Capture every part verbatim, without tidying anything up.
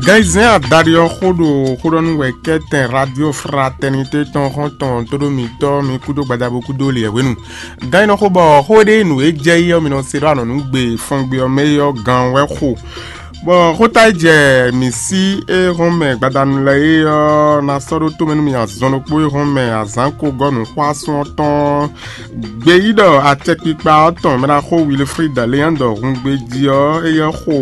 Gan e zɛ́n adaɖé ɔ́ xó ɖo xóɖɔ́núwɛkɛ́tɛn Radio Fraternité tɔn xɔ́ntɔn tóɖó mitɔ́ mi kúdó gbadabo kúdó lǐɛhwenu. Gan e nɔ xo bɔ xó ɖé nǔ e jɛ yí ɔ́ mi nɔ se ɖó anɔ̌nugbe fɔngbe ɔ́ mɛ é ɔ́ gan wɛ xo. Bɔ xóta e jɛ mǐ sí e hɔn mɛ gbadanu lɛ́ɛ é ɔ́ ná sɔ́ ɖó tomɛ nú mi azɔn ɖokpó e hɔn mɛ azǎn ko gɔ́ nǔxwásún ɔ́ tɔn. Gbeyíɖɔ acɛkpikpa ɔ́ tɔn mɛ ná xo Wilfrid Léandɔ hun gbejí ɔ́, éyɛ́ xo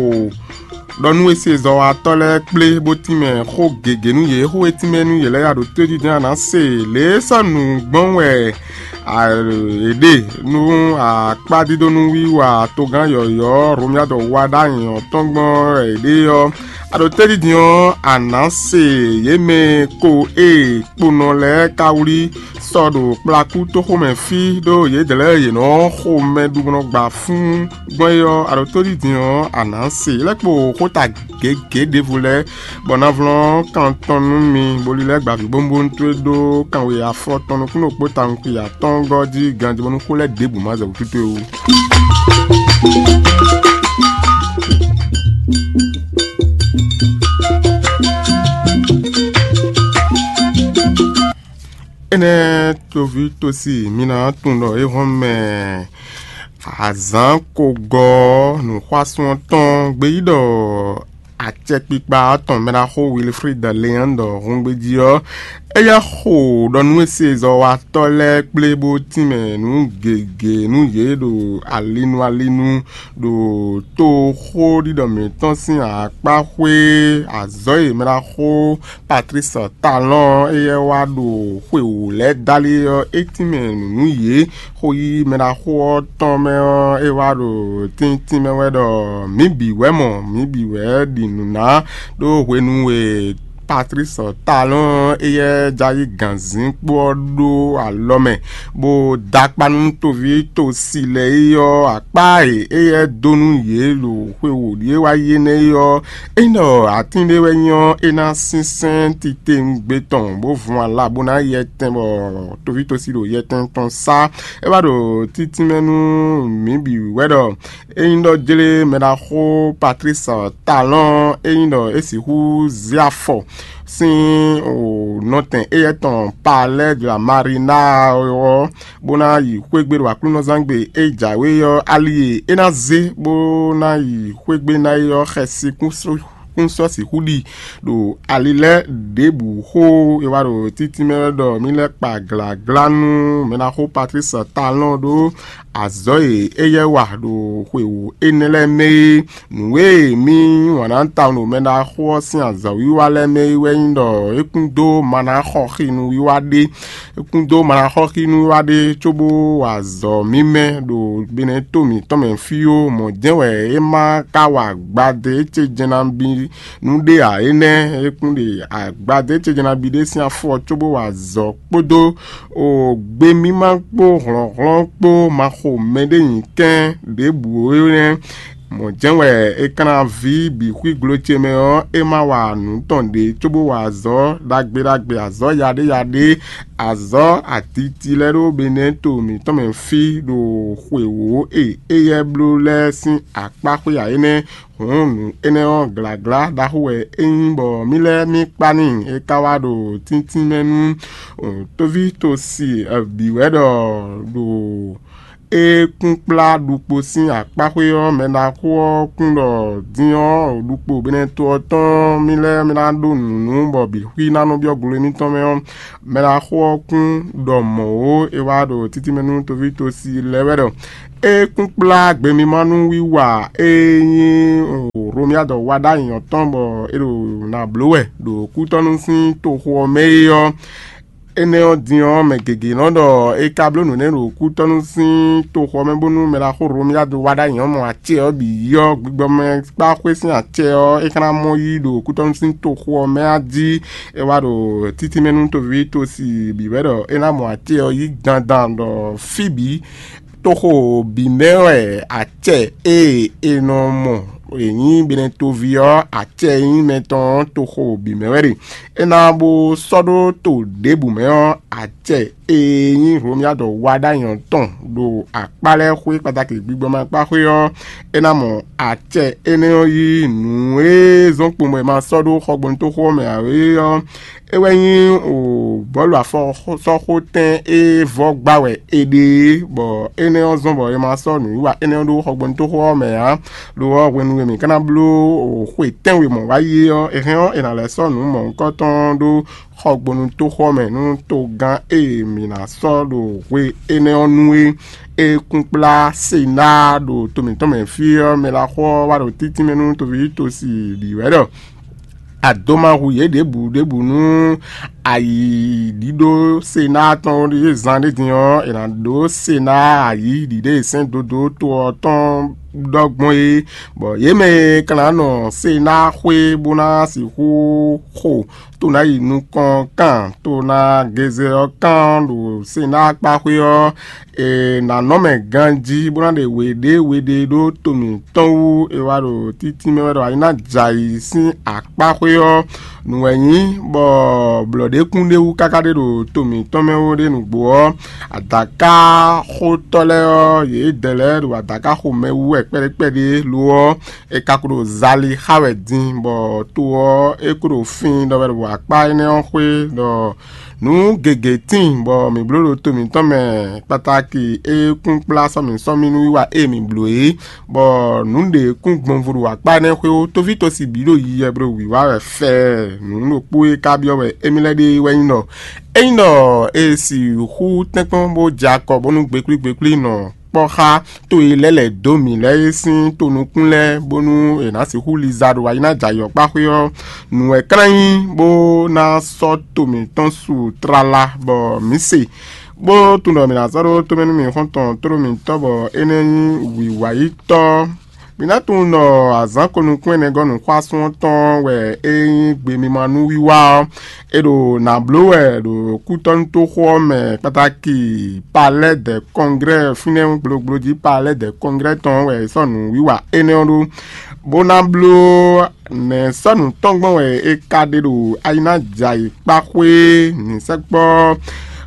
ɖɔ nú esezɔ́watɔ́ lɛ́ɛ kplé bó tínmɛ xó gěgé nú yě. Xó e tínmɛ nú yě lɛ́ɛ ya ɖo tójídɛ́n a nǎ se lě e sɔ́ nǔ gbɔn wɛ è ɖe nú akpádídónú wiwa togán yɔ̌yɔ́ Romia ɖɔ wa ɖó anyǐ ɔ́ tɔn gbɔn wɛ è ɖe ɔ́, a ɖo tójídin ɔ́, a nǎ se yě mɛ ko e kponɔ lɛ́ɛ ka wlí sɔ ɖo kplakú toxomɛ fí ɖó yědɛɛ lɛ́ɛ yě nɔ xo mɛ ɖu bó nɔ gba fún gbɔn é ɔ́, a ɖo tóɖídin ɔ́, a nǎ se lɛ́ kpo xóta gěgé ɖěvo lɛ́ɛ, bɔ ná vlɔ́n kan tɔn nú mi, bó lílɛ́ gba vǐ bónbónú towe ɖó kanwe afɔtɔn nukúnnú kpó tawun xwi atɔ́ɔ́ngɔ́ jí ganjí bónú xó lɛ́ɛ ɖěbǔ má zɛ wǔtu towe wú. Énɛ́ toví tosi mi ná tunwun ɖɔ é hɔn mɛ azǎn ko gɔ́ nǔxwásún ɔ́ tɔn gbeyíɖɔ acɛkpikpa ɔ́ tɔn mɛ ɖaxó Wilfrid Leandɔ húngbéjí ɔ́, éyɛ́ xo ɖɔ nú esezɔ́watɔ́ lɛ́ɛ kplé bó tínmɛ nǔ gěgé nú yě ɖo alinu alinu ɖo toxóɖiɖɔ mǐtɔn sín akpáxwé azɔ̌ e mɛ ɖaxó Patrice Talon éyɛ́ wá ɖo xwe wǒ lɛ́ɛ dálé ɔ́, é tínmɛ nǔ nú yě. Xó yí mɛ ɖaxó ɔ́ tɔn mɛ ɔ́, é wá ɖo tíntín mɛ wɛ ɖɔ mǐ bǐ wɛ mɔ, mǐ bǐ wɛ ɖi nǔ ná, ɖó hwenu e Patrice Talon éyɛ́ já yí gǎnzínkpo ɔ́ ɖó alɔ mɛ, bó dó akpá nú toví tosi lɛ́ɛ é ɔ́, akpá e éyɛ́ dó nú yě ɖo xwe wǒ ɖíe wá yi énɛ́ é ɔ́, é nyí ɖɔ atín ɖé wɛ nyí ɔ́, é ná sínsɛ́n titewungbe tɔn bó vun ala bó ná yɛ tɛn bɔ toví tosi ɖo yɛtɛn tɔn sá. É wá ɖo títínmɛ nú mǐ bǐ wɛ ɖɔ é nyí ɖɔ jlé mɛ ɖaxó Patrice Talon, é nyí ɖɔ é sixú zé afɔ sín nɔtɛn éyɛ́ tɔn Palais de la Marina ɔ́, bó ná yi xwé gbe ɖo aklúnɔzángbe e jǎwe ɔ́, ali e é ná zé bó ná yi xwé gbe ná é ɔ́, xɛsi kún sɔ́ sixú ɖi ɖo ali lɛ́ɛ ɖěbǔ xó. E wá ɖo títí mɛ wɛ ɖɔ mǐ lɛ́ kpa glǎglá nú mɛɖaxó Patrice Talon ɖó azɔ̌ e éyɛ́ wa ɖo xwe wǒ énɛ́ lɛ́ɛ mɛ é. Nǔ e mì yí wǎn ná tawun ɖo mɛɖaxó ɔ́ sín azɔ̌wiwa lɛ́ɛ mɛ é wɛ nyí ɖɔ é kún dó ma ná xɔ xi nú wiwa ɖé. É kún dó ma ná xɔ xi nú wiwa ɖé cóbó wa azɔ̌ mímɛ́ ɖo gbenɛ́ to mǐtɔn mɛ fí ó. Mɔ̌ jɛ́n wɛ é ma ka wa agbadé ce jɛ́n ná bí nú ɖé ǎ. Énɛ́ é kún ɖe agbadé ce jɛ́n ná bí ɖé sín afɔ cóbó wa azɔ̌ kpódó o gbe mímá kpó hlɔ̌nhlɔ́n kpó ma xo mɛɖé nyi kɛ́n ɖěbǔ ó nɛ́. Mɔ̌ jɛ́n wɛ è kan ná ví bǐ xwí glo ce mɛ ɔ́, é ma wa nǔ tɔn ɖě cóbó wa azɔ̌ ɖagbe ɖagbe, azɔ̌ yaɖéyaɖé, azɔ̌ aditi lɛ́ɛ ɖó Benɛ́to mǐtɔn mɛ fí ɖo xwe wǒ e éyɛ́ bló lɛ́ɛ sín akpá xwé ǎ é nɛ́. Hǔn nǔ énɛ́ ɔ́, glǎglá ɖaxó wɛ é nyí bɔ mǐ lɛ́ɛ mì kpa n'i. É ka wá ɖo tíntín mɛ nú tóví tosi bǐ wɛ ɖɔ ɖo é kún kplá ɖukpo sín akpáxwé ɔ́, mɛ ɖaxó ɔ́ kún ɖɔ din ɔ́, ɖukpo Benɛ́to ɔ́ tɔn mì lɛ́ɛ mì ná ɖó nǔ nú bɔ bǐ xwí ná nɔ byɔ́ glo émítɔn mɛ ɔ́, mɛ ɖaxó ɔ́ kún ɖɔ mɔ̌ ó. É wá ɖo títí mɛ nú tóví tosi lɛ́ɛ wɛ ɖɔ é kún kplá gbemimánú wiwa e nyí Romiadɔ wa ɖ'ayǐ ɔ́ tɔn bɔ é ɖo nǎ bló wɛ ɖo kútɔ́nú sín toxo ɔ́ mɛ é ɔ́, énɛ́ ɔ́ din ɔ́, mɛ gěgé nɔ ɖɔ é ka bló nǔ nɛ́ ɖo kútɔ́nú sín toxo ɔ́ mɛ bónú mɛ ɖaxó Romiadɔ wa ɖ'ayǐ ɔ́ mɔ acɛ ɔ́ bǐ yi ɔ́, gbigbɔmɛ kpá xwé sín acɛ ɔ́, é ka ná mɔ yí ɖo kútɔ́nú sín toxo ɔ́ mɛ a jí. É wá ɖo títí mɛ nú tóví tosi bǐ wɛ ɖɔ é ná mɔ acɛ ɔ́ yí dandan ɖɔ fí bǐ toxo bǐ mɛ wɛ acɛ e è nɔ mɔ è nyí Benɛtoví ɔ́, acɛ e nyí mɛ tɔn ɔ́ toxo bǐ mɛ wɛ ɖe. É ná bó sɔ́ ɖó to ɖěbǔ mɛ ɔ́, acɛ e nyí Hlomia ɖɔ wa ɖ'ayǐ ɔ́ tɔn ɖo akpá lɛ́ɛ xwé kpatáki gbígbɔ́ ma kpá xwé ɔ́, é ná mɔ acɛ énɛ́ ɔ́ yí nǔ e zɔ́n kpomɛ ma sɔ́ ɖó xɔgbɔnútoxo ɔ́ mɛ ǎ é ɔ́, é wɛ nyí bɔ̌lu afɔsɔ́xotɛn e vɔ́ gbá wɛ è ɖe é, bɔ énɛ́ ɔ́ zɔ́n bɔ è ma sɔ́ nǔwiwa énɛ́ ɔ́ ɖó xɔgbɔnútoxo ɔ́ mɛ ǎ. Lo ɔ́, hwenu e mǐ ka ná bló xwe tɛ́nwe mɔ̌ wá yi é ɔ́, è hɛn ɔ́, è nǎ lɛ́ sɔ́ nǔ mɔ̌hunkɔtɔn ɖó xɔgbɔnútoxo ɔ́ mɛ nú togán e mǐ ná sɔ́ ɖo hwe énɛ́ ɔ́ nu é. É kún kplá Senáa ɖo to mǐtɔn mɛ fí ɔ́, mɛ ɖaxó ɔ́ wá ɖo títínmɛ nú toví tosi bǐ wɛ ɖɔ a dó ma hu yě ɖěbǔ ɖěbǔ nú ayǐɖíɖó Senáa tɔn ɖíe zan ɖé din ɔ́, è nǎ ɖó Senáa ayǐ ɖiɖe e sɛ́n dodó to ɔ́ tɔn ɖɔ gbɔn é, bɔ yě mɛ e ka ná nɔ Senáa xwé bó ná sixú xo to ná yi nukɔn kan to ná geze ɔ́ kan ɖo Senáa kpá xwé ɔ́, è nǎ nɔ mɛ ganjí bó ná ɖe we ɖé we ɖé ɖó to mǐtɔn wú. È wá ɖo títí mɛ wɛ ɖɔ a yi ná jɛ ayǐ sín akpá xwé ɔ́. Nǔ wɛ nyí bɔ blɔ̌ɖékún ɖé wú káká ɖé ɖo to mǐtɔn mɛ ó ɖé nǔgbó ɔ́, adǎkáxotɔ́ lɛ́ɛ ɔ́, yědɛɛ lɛ́ɛ ɖo adǎkáxomɛ wú wɛ kpɛɖékpɛɖé lo ɔ́, è ka ko ɖo zali xá wɛ din, bɔ to ɔ́, é ko ɖo fin ɖɔ wɛ ɖo akpá énɛ́ ɔ́ xwé ɖɔ nǔ gěgé tíin, bɔ mǐ bló ɖo to mǐtɔn mɛ kpatáki e kún kplá sɔ́mǐ sɔ́mǐ nú wiwa e mǐ bló é, bɔ nǔ ɖě kún gbɔnvo ɖo akpá énɛ́ xwé ó. Toví tosi bǐ ɖo yiyɛ bló wǐwá wɛ fɛɛ. Nǔ ɖokpó e ka byɔ́ wɛ émí lɛ́ɛ ɖe wɛ nyí ɖɔ: ényí ɖɔ è sixú tɛ́nkpɔ́n bó jɛ akɔ bónú gbeklí gbeklí nɔ kpɔ́ xá to e lɛ́ lɛ̌ dó mǐ lɛ́ɛ é sín tonukún lɛ́ɛ, bónú è nǎ sixú liza ɖo ayi ná jɛ ayɔkpáxwé ɔ́, nǔ wɛ klán nyí bó ná sɔ́ to mǐtɔn su tlala, bɔ mǐ se, bó tunwun ɖɔ mǐ ná sɔ́ ɖó tomɛ nú mǐ xɔ́ntɔn tlóló mǐtɔn, bɔ énɛ́ nyí wǐwáyítɔ́. Mǐ ná tunwun ɖɔ azǎn ko nukún ɛnɛ gɔ́ nǔxwásún ɔ́ tɔn wɛ é nyí gbe mímá nú wiwa ɔ́. È ɖo nǎ bló wɛ ɖo kútɔ́nútoxo ɔ́ mɛ kpatáki Palais des Congrès, fínɛ́ gblogbló jí Palais des Congrès tɔn wɛ è sɔ́ nǔwiwa énɛ́ ɔ́ ɖó, bó ná bló nɛ̌ sɔ́ nǔ tɔn gbɔn wɛ è ka ɖe ɖo ayi ná jɛ ayǐ kpá xwé ní sɛkpɔ́.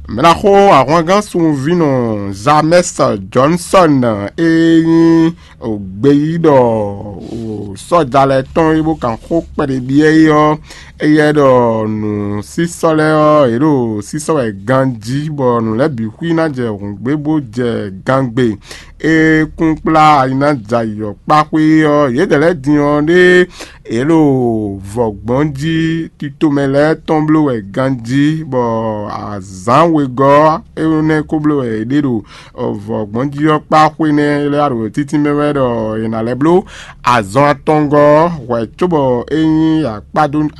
Mɛɖaxó ahwangán sunvínɔ James Johnson e nyí gbeyíɖɔ sɔ́ja lɛ́ɛ tɔn e bó kan xó kpɛɖé byɔ́ é ɔ́, éyɛ́ ɖɔ nǔsísɔ́ lɛ́ɛ ɔ́, yě ɖo sísɔ́ wɛ ganjí, bɔ nǔ lɛ́ɛ bǐ xwí ná jɛ hǔngbé bó jɛ gangbe. É kún kplá ayi ná jɛ ayǐ ɔ́ kpá xwé ɔ́, yědɛɛ lɛ́ɛ din ɔ́ ɖé yě ɖo vɔ̌gbɔn jí titomɛ lɛ́ɛ tɔn bló wɛ ganjí, bɔ azǎn wegɔ́ énɛ́ ko bló wɛ yě ɖe ɖo vɔ̌gbɔn jí ɔ́ kpá xwé nɛ́ lɛ́ɛ ɖo títí mɛ wɛ ɖɔ è nǎ lɛ́ bló azɔn atɔngɔ́ hwɛ̌ cóbɔ é nyí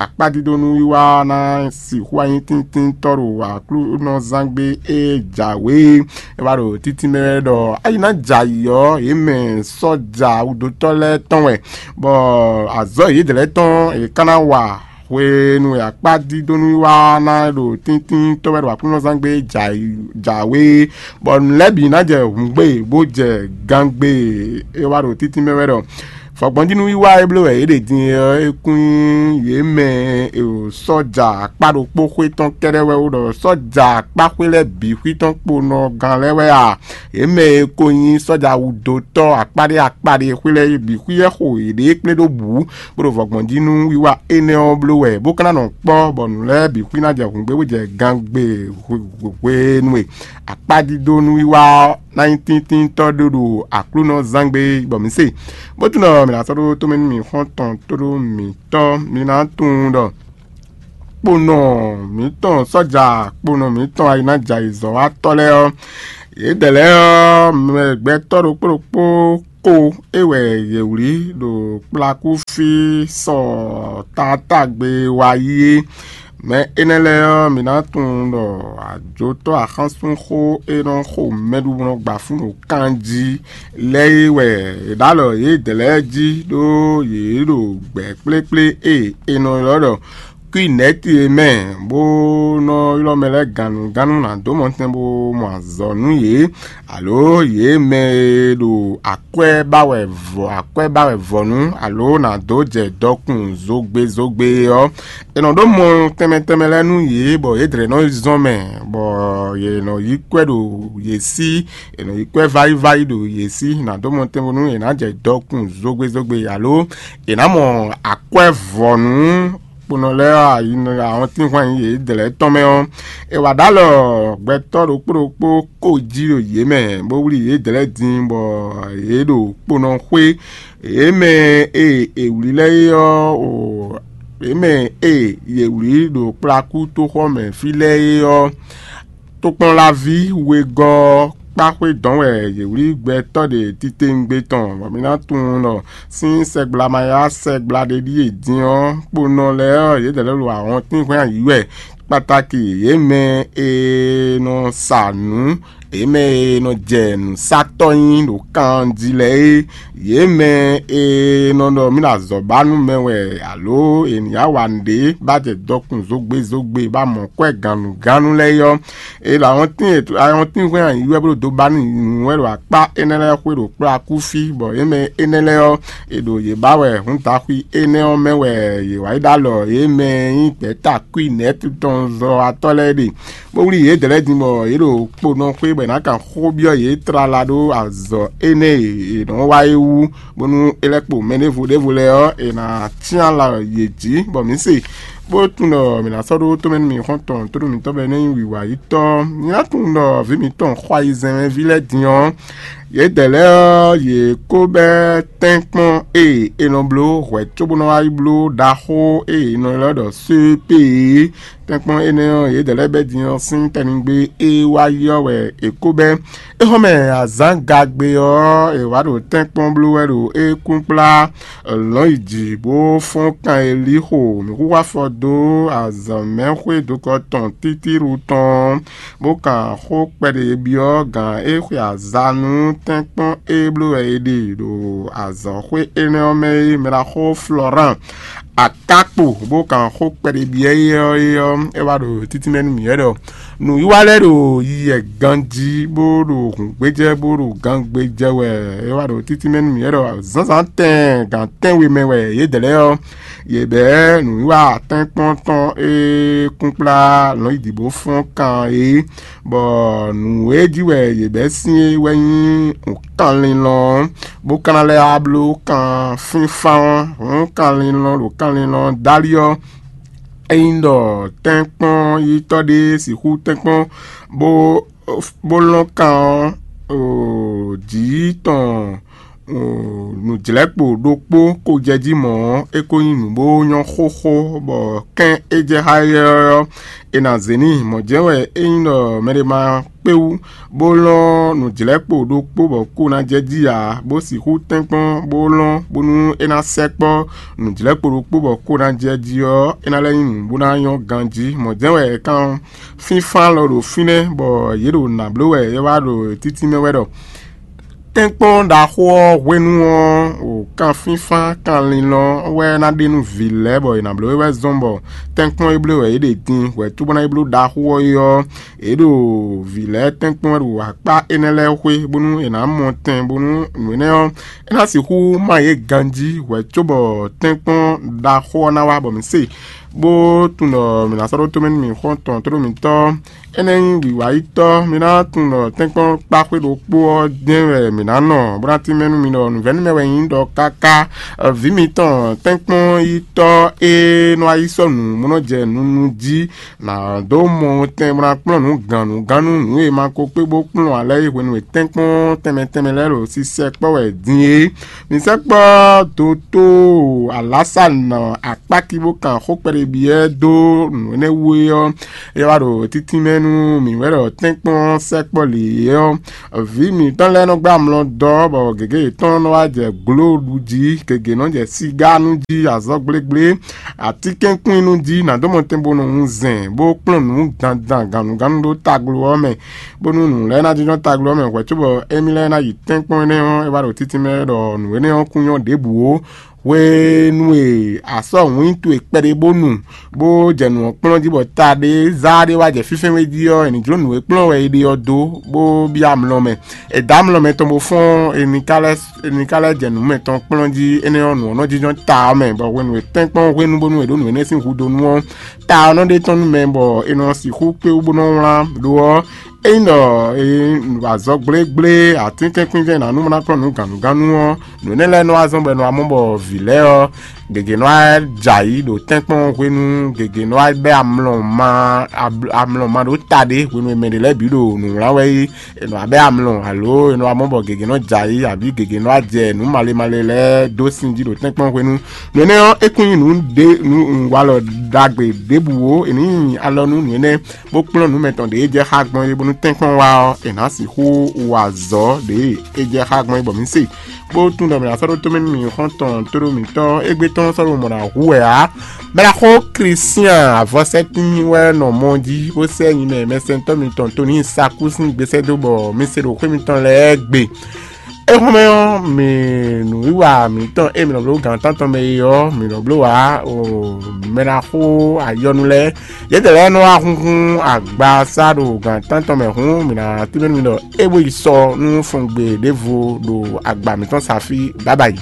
akpádídónú wiwa ná sixú anyí tíntíntɔ́ ɖo Aklúnɔzángbe e jǎwe é. É wá ɖo títí mɛ wɛ ɖɔ ayi ná jɛ ayǐ ɔ́, yě mɛ sɔ́ja wudotɔ́ lɛ́ɛ tɔn wɛ, bɔ azɔ̌ yědɛɛ lɛ́ɛ tɔn è ka ná wa hwenu e akpádídónú wiwa ná ɖo tíntíntɔ́ wɛ ɖo Aklúnɔzángbe jǎwe, bɔ nǔ lɛ́ɛ bǐ ná jɛ hǔngbe bó jɛ gangbe. É wá ɖo títí mɛ wɛ ɖɔ vɔ̌gbɔ́njínú wiwa e bló wɛ yě ɖe din é ɔ́, é kún nyí yě mɛ e ɖo sɔ́ja akpá ɖokpó xwé tɔn kɛ́ɖɛ́ wɛ ó ɖɔ sɔ́ja akpáxwé lɛ́ɛ bǐ xwí tɔn kponɔ gán lɛ́ɛ wɛ a? Yě mɛ e ko nyí sɔ́ja wudotɔ́ akpáɖé akpáɖé xwé lɛ́ɛ bǐ xwí wɛ xo yěɖée kplé ɖó bǔ, bó ɖo vɔ̌gbɔ́njínú wiwa énɛ́ ɔ́ bló wɛ, bó ka ná nɔ kpɔ́ bɔ nǔ lɛ́ɛ bǐ xwí ná jɛ hǔngbé bó jɛ gangbe hwenu e akpádídónú wiwa ɔ́ ná nyí tíntíntɔ́ ɖó ɖo Aklúnɔzángbe bɔ mǐ se. Bó tunwun ɖɔ mǐ ná sɔ́ ɖó tomɛ nú mǐ xɔ́ntɔn tóɖó mǐtɔn, mǐ ná tunwun ɖɔ kponɔ mǐtɔn sɔ́ja kponɔ mǐtɔn ayi ná jɛ ayǐzɔ́watɔ́ lɛ́ɛ ɔ́, yědɛɛ lɛ́ɛ ɔ́, mɛ gbɛtɔ́ ɖokpó ɖokpó ko é wɛ yě wlí ɖo kplakúfí sɔ taatagbe wá yi é. Mɛ énɛ́ lɛ́ɛ ɔ́, mǐ ná tunwun ɖɔ ajotɔ́ axánsúnxó e nɔ xo mɛɖuɖunɔ gba fún ɖo kan jí lɛ́ɛ é wɛ è ɖǒ alɔ yědɛɛ lɛ́ɛ jí, ɖó yě ɖo gbɛ̌ kplékplé e è nɔ ylɔ́ ɖɔ kwínɛ́ti e mɛ bó nɔ ylɔ́ mɛ lɛ́ɛ gannugánnu ná dó mɔtɛn bó mɔ azɔ̌ nú yě, alo yě mɛ e ɖo akwɛ́ ba wɛ vɔ akwɛ́ ba wɛ vɔ̌nu, alo ná dó jɛ dɔkun zogbe zogbe ɔ́, è nɔ ɖó mɔ tɛnmɛ tɛnmɛ lɛ́ɛ nú yě, bɔ yě dlɛ̌ nɔ yi zɔn mɛ, bɔ yě nɔ yí kwɛ́ ɖo yě sí, è nɔ yí kwɛ́ vayi vayi ɖo yě sí, ná dó mɔ tɛnmɛ nú yě ná jɛ dɔkun zogbe zogbe, alo è nǎ mɔ akwɛ́ vɔ̌nu kponɔ lɛ́ɛ ɔ́, ayi ahɔntínhwan yědɛɛ lɛ́ɛ tɔn mɛ ɔ́, è wǎ ɖó alɔ gbɛtɔ́ ɖokpó ɖokpó kó jí ɖo yě mɛ, bó wlí yědɛɛ lɛ́ɛ din, bɔ yě ɖo kponɔ xwé. Yě mɛ e è wlǐ lɛ́ɛ é ɔ́, o yě mɛ e yě wlǐ ɖo kplakútoxɔ mɛ fí lɛ́ɛ é ɔ́, tokpɔnlaví wegɔ́ ɔ́ kpá xwé dɔn wɛ yě wlí gbɛtɔ́ ɖě titewungbe tɔn, bɔ mi ná tunwun ɖɔ sín sɛgbla ma yá sɛgbla ɖé ɖíe din ɔ́, kponɔ lɛ́ɛ ɔ́, yědɛɛ lɛ́ɛ ɖo ahɔntínhwɛ́n ayǐ wɛ, kpataki yě mɛ e nɔ sa nǔ, yě mɛ e nɔ jɛ nǔsatɔ́ nyi ɖo kan jí lɛ́ɛ é, yě mɛ e nɔ ɖɔ mì ɖo azɔ̌ ba nú mɛ wɛ, alo è nǐ yá wa nǔɖé ba jɛ dɔkun zogbe zogbe ba mɔ kwɛ́ gannugánnu lɛ́ɛ é ɔ́, è ɖo awɔntín awɔntínhwɛ́n ayǐ wɛ bó ɖo do ba nú nǔ wɛ ɖo akpá énɛ́ lɛ́ɛ xwé ɖo kplá kú fí, bɔ yě mɛ énɛ́ lɛ́ɛ ɔ́, è ɖo yě ba wɛ hǔn daxwi énɛ́ ɔ́ mɛ wɛ yě wá yi ɖó alɔ yě mɛ e nyí gbɛ̌takúnɛ́tɔ́nzɔ́watɔ́ lɛ́ɛ ɖe, bó wlí yědɛɛ lɛ́ɛ din bɔ yě ɖo kponɔ xwé bɔ è nǎ kan xó byɔ́ yě tlala ɖó azɔ̌ énɛ́ e è nɔ́ wa é wú, bónú é lɛ́ kpo mɛ ɖěvo ɖěvo lɛ́ɛ ɔ́, è nǎ cyán alɔ yě jí, bɔ mǐ se, bó tunwun ɖɔ mǐ ná sɔ́ ɖó tomɛ nú mì xɔ́ntɔn tónú mǐtɔn bɔ é ná nyí wǐwayítɔ́. Nyí ná tunwun ɖɔ vǐ mǐtɔn xɔ ayizɛ́nmɛví lɛ́ɛ din ɔ́, yědɛɛ lɛ́ɛ ɔ́, yě ko bɛ́ tɛ́nkpɔ́n e è nɔ bló hwɛ̌ cóbó nɔ wá yi bló ɖaxó e è nɔ ylɔ́ ɖɔ C P é. Tɛ́nkpɔ́n énɛ́ ɔ́, yědɛɛ lɛ́ɛ bɛ́ din ɔ́ sín tɛnigbe e wá yi ɔ́ wɛ è ko bɛ́. É xɔ́ mɛ azǎn gagbe ɔ́, è wǎ ɖo tɛ́nkpɔ́n bló wɛ ɖo é kúnkplá lɔ̌n yi jǐ bó fɔ́n kan e lí xo mǐ xúxú afɔ dó azɔ̌mɛxwé dokɔ tɔn títíɖu tɔn, bó kan xó kpɛɖé byɔ́ gǎn e xwe azǎn nú tɛ́nkpɔ́n e bló wɛ è ɖe ɖo azɔ̌xwé énɛ́ ɔ́ mɛ é, mɛɖaxó Florán Akákpo, bó kan xó kpɛɖé byɔ́ é ɔ́, é ɔ́, é wá ɖo títínmɛ nú mǐ wɛ ɖɔ nǔwiwa lɛ́ɛ ɖo yiyi wɛ ganjí, bó ɖo hǔngbéjɛ, bó ɖo gangbéjɛ wɛ. É wá ɖo títínmɛ nú mǐ wɛ ɖɔ zǎnzǎn tɛɛn gan tɛ́nwe mɛ wɛ yědɛɛ lɛ́ɛ ɔ́, yě bɛ̌ nǔwiwa atɛ́nkpɔ́n tɔn e kúnkplá lɔ̌nyidǐ bó fɔ́n kan é, bɔ nǔ e jí wɛ yě bɛ́ sín é wɛ nyí nǔkanlínlɔ́n ɔ́, bó ka ná lɛ́ wá bló kan fínfán ɔ́, hǔn kanlínlɔ́n ɖo kanlínlɔ́n dali ɔ́, ényí ɖɔ tɛ́nkpɔ́n yítɔ́ ɖé sixú tɛ́nkpɔ́n bó bó lɔ́n kan ɔ́, jǐ tɔn nǔjlɛ́kpo ɖokpó ko jɛ jí mɔ̌ ɔ́, é ko nyí nǔ bó nyɔ́ xóxó, bɔ kɛ́n é jɛ xá éyɛ́ ɔ́, è nǎ zě n'i. Mɔ̌ jɛ́n wɛ ényí ɖɔ mɛɖé ma kpé wú, bó lɔ́n nǔjlɛ́kpo ɖokpó bɔ kó ná jɛ jí ǎ, bó sixú tɛ́nkpɔ́n bó lɔ́n bónú é ná sɛkpɔ́ nǔjlɛ́kpo ɖokpó bɔ kó ná jɛ jí ɔ́, é ná lɛ́ nyí nǔ bó ná nyɔ́ ganjí. Mɔ̌ jɛ́n wɛ kan fínfán lɔ ɖo fínɛ́, bɔ yě ɖo nǎ bló wɛ é wá ɖo títínmɛ wɛ ɖɔ tɛ́nkpɔ́n ɖaxó ɔ́ hwenu ɔ́, o kan fínfán kanlin lɔ wɛ ná ɖe nú vǐ lɛ́ɛ bɔ è nǎ bló é wɛ zɔ́n bɔ tɛ́nkpɔ́n e bló wɛ yě ɖe din hwɛ̌ cóbó ná yi bló ɖaxó ɔ́ é ɔ́, yě ɖo vǐ lɛ́ɛ tɛ́nkpɔ́n wɛ ɖo akpá énɛ́ lɛ́ɛ xwé, bónú è nǎ mɔ tɛn, bónú nǔ énɛ́ ɔ́, é ná sixú má yě ganjí hwɛ̌ cóbɔ tɛ́nkpɔ́n ɖaxó ɔ́ ná wá bɔ mǐ se, bó tunwun ɖɔ mǐ ná sɔ́ ɖó tomɛ nú mì xɔ́ntɔn tlóló mǐtɔn. Énɛ́ nyí wǐwáyítɔ́, mi ná tunwun ɖɔ tɛ́nkpɔ́n kpáxwé ɖokpó ɔ́ jɛ́n wɛ mǐ ná nɔ, bó ná tínmɛ nú mi ɖɔ nǔvɛ́númɛ wɛ nyí ɖɔ káká. Vǐ mitɔn tɛ́nkpɔ́n yítɔ́ e nɔ wá yi sɔ́ nǔ bó nɔ jɛ nunu jí, nǎ dó mɔ tɛn bó ná kplɔ́n nǔ gannǔgánnú nǔ e ma ko kpé bó kplɔ́n ǎ lɛ́ɛ é hwenu e tɛ́nkpɔ́n tɛnmɛ tɛnmɛ lɛ́ɛ ɖo sisɛ kpɔ́ wɛ din é. Mi sɛkpɔ́ doto alǎsanɔ akpáki bó kan xó kpɛɖé byɔ́ dó nǔ énɛ́ wú é ɔ́, é wá ɖo títínmɛ nú mǐ wɛ ɖɔ tɛ́nkpɔ́n sɛkpɔ́ lě é ɔ́, vǐ mǐtɔn lɛ́ɛ nɔ gbá amlɔ dɔ bɔ gěgé yětɔn nɔ wá jɛ glóɖu jí, gěgé nɔ jɛ sigá nú jí, azɔ̌ gblégblé, atínkɛ́nkwín nú jí, nǎ dó mɔ tɛn bó nɔ wunzɛn, bó kplɔ́n nǔ dandan gannugánnu ɖó taglo ɔ́ mɛ, bónú nǔ lɛ́ɛ ná jínjɔ́n taglo ɔ́ mɛ hwɛ̌ cóbɔ émí lɛ́ɛ ná yi tɛ́nkpɔ́n énɛ́ ɔ́, é wá ɖo títínmɛ ɖɔ nǔ énɛ́ ɔ́ kún nyɔ́ ɖěbǔ ó. Hwenu e asɔ́ wǐn towe kpɛɖé bó nu, bó jɛ nǔ ɔ́ kplɔ́n jí bɔ ta ɖé zá ɖé wá jɛ fínfɛ́n wé jí ɔ́, è nǐ jló nǔ e kplɔ́n wɛ è ɖe ɔ́ dó, bó byɔ́ amlɔ mɛ. È dǒ amlɔ mɛ tɔn bó fɔ́n, è nǐ ka lɛ́ è nǐ ka lɛ́ jɛ nǔ mɛtɔn kplɔ́n jí, énɛ́ ɔ́, nǔ ɔ́ nɔ jínjɔ́n ta ɔ́ mɛ, bɔ hwenu e tɛ́nkpɔ́n hwenu bónú è ɖǒ nǔ énɛ́ sín hudó nú ɔ́, ta ɔ́ nɔ ɖe tɔ́n nú mɛ, bɔ è nɔ sixú kpé wú bó nɔ wlán. Lo ɔ́, ényí ɖɔ azɔgblégblé atínkɛnkwínvɛ́ ná nú ná kplɔ́n nǔ gǎnnugánnu ɔ́, nǔ énɛ́ lɛ́ɛ nɔ wá zɔ́n bɔ è nɔ wá mɔ bɔ vǐ lɛ́ɛ ɔ́, gěgé nɔ wá jɛ ayǐ ɖo tɛ́nkpɔ́n hwenu, gěgé nɔ wá bɛ́ amlɔ ma amlɔ ma ɖó ta ɖé hwenu e mɛ ɖě lɛ́ɛ bǐ ɖo nǔ wlán wɛ é. È nɔ wá bɛ́ amlɔ, alo è nɔ wá mɔ bɔ gěgé nɔ jɛ ayǐ, abǐ gěgé nɔ wá jɛ nǔ malé malé lɛ́ɛ dó sin jí ɖo tɛ́nkpɔ́n hwenu. Nǔ énɛ́ ɔ́, é kún nyí nǔ ɖé nǔ walɔ ɖagbe ɖěbǔ ó. È nǐ nyi alɔ nú nǔ énɛ́ bó kplɔ́n nǔ mɛtɔn ɖě jɛ xá gbɔn é, bónú tɛ́nkpɔ́n wá ɔ́, è nǎ sixú wa azɔ̌ ɖě é jɛ xá gbɔn é, bɔ mǐ se bó tún ɖɔ mǐ ná sɔ́ ɖó tomɛ nú mǐ xɔ́ntɔn tóɖó mǐtɔn égbé tɔn sɔ́ ɖo mɔ̌ ná hu wɛ ǎ. Mɛɖaxó Klístian avɔsɛ́tín wɛ nɔ mɔ jí bó sɛ́ nyi mɛ mɛsɛntɔ́ mitɔn Toníi Sakú sín gbesɛ́ dó bɔ mi se ɖo xwé mitɔn lɛ́ɛ gbe. Éhɔ́nmɛ ɔ́, mǐ nǔwiwa mǐtɔn e mǐ nɔ bló gǎn tántɔn mɛ é ɔ́, mǐ nɔ bló wǎ o mɛɖaxó ayɔnu lɛ́ɛ. Yědɛɛ lɛ́ɛ nɔ wá húnhún agba sá ɖo gǎn tántɔn mɛ hǔn, mǐ ná tínmɛ nú mi ɖɔ é bó yi sɔ nú fɔngbe ɖěvo ɖo agba mǐtɔn sa fí. Bábáyi.